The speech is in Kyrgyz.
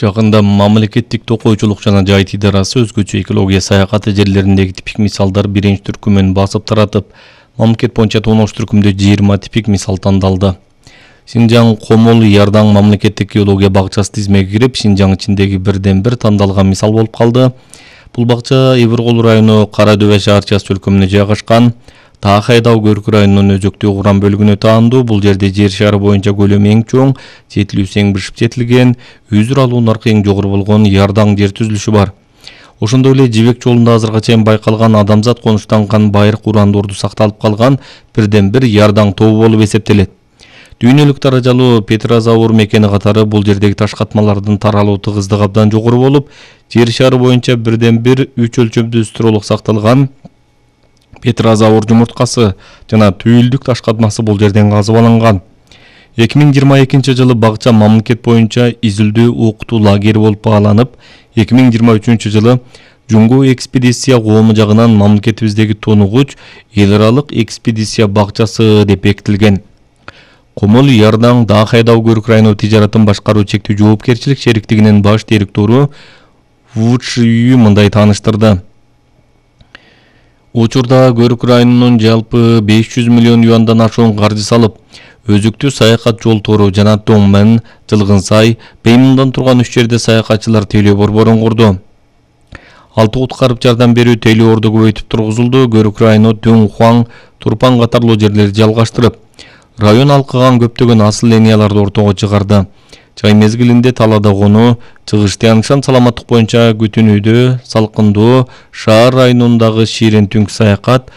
Жакында мамлекеттик токойчулук жана жайыт идарасы өзгөчө экология саякаты жерлериндеги типик мисалдар биринчи түркүмөн басып таратып, мамлекет боюнча 19 түркүмдө 20 типик мисал тандалды. Шинжаң Комол Ярдан мамлекеттик геология бакчасы тизмеге кирип, Шинжаң ичиндеги бирден бир тандалган мисал болуп калды. Бул бакча Ибиркул району Кара Дөбө шаарчасы өлкөмүнө жайгашкан. Таахайдау Көрүк районунун өзөктүү Куран бөлүгүнө таандуу. Бул жерде жер шары боюнча көлөмү эң чоң, жетилүүсү эң бишип жетилген, үзүр алуу наркы эң жогору болгон Ярдан жер түзүлүшү бар. Ошондой эле Жибек жолунда азыркыга чейин байкалган адамзат конуштанган байыркы урандорду сакталып калган бирден бир Ярдан тобу болуп эсептелет. Дүйнөлүк даражалуу Петрозавр мекени катары бул жердеги таш катмалардын таралуу тыгыздыгы абдан жогору болуп, жер шары боюнча бирден бир 3 өлчөмдүү стролог сакталган Петрозавр жумурткасы жана түйүлдүк таш катмасы бул жерден казып алынган. 2022 жылы бакча мамлекет боюнча изилдөө окутуу лагери болуп бааланып, 2023 жылы Жуңгу экспедиция коому жагынан мамлекетибиздеги тонугуч эл аралык экспедиция бакчасы деп бекитилген. Комол Ярдан Таахайдау Көрүк району тижаратын башкаруу чектүү жоопкерчилик шериктигинин баш директору Вучүй мындай тааныштырды. Учурда Көрүк районунун жалпы 500 миллион юандан ашуун каржы салып, өзүктүү саякат жолтору жана Тоңмен, Жылгынсай, Беймундан турган 3 жерде саякатчылар тейлөө борборун курду. 6 куткарып жардам берүү тейлөө орду көбөйтүп тургузулду. Көрүк району Түн-Хуаң, Турпан катарлуу жерлерди жалгаштырып, район алкыган көптөгөн асыл линияларды ортого чыгарды. Чай мезгилинде талаада конуу, чыгыш тыянышан саламаттык боюнча күтүнүүдө, салкындоо, шаар районундагы ширин түнкү саякат,